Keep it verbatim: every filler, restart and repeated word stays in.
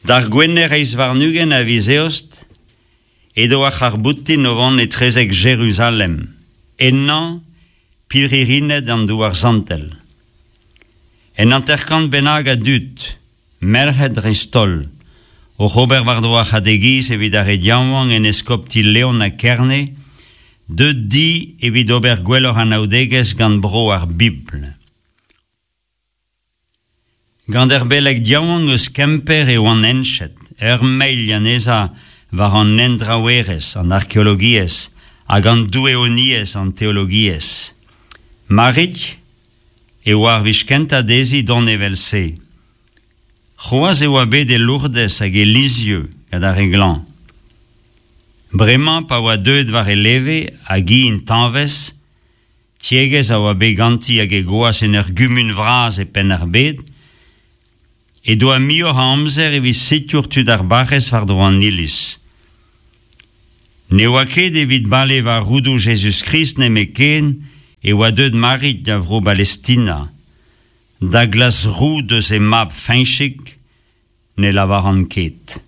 D'ar Gwener eizh warn-ugent a viz Eost edo ar c'harr-boutin o vont etrezek Jeruzalem, ennañ pirc'hirined an Douar Santel. Un hanter-kant bennak a dud, merc'hed dreist-holl, oc'h ober war-dro ar c'hategiz evit ar re yaouank en eskopti Leon ha Kerne, deuet di evit ober gwelloc'h anaoudegezh gant bro ar Bibl. Gant ur beleg yaouank eus Kemper e oant henchet, ur mailh anezhañ war an hendraouerezh, an arkeologiezh, hag an doueoniezh, an teologiezh. Marig e oa ar wech kentañ dezhi dont evel-se. C'hoazh e oa bet e Lourdes hag e Lisieux gant ar re glañv. Bremañ pa oa deuet war e leve hag hi intañvez, tiegezh a oa bet ganti hag he gwaz en ur gumun vras e Penn-ar-Bed, he doa muioc'h a amzer evit sikour tud ar barrez war-dro an iliz. Ne oa ket evit bale war roudoù Jezuz-Krist nemetken e oa deuet Marig da vro Balestina, da glask roud eus he mab Feñchig ne lavaran ket.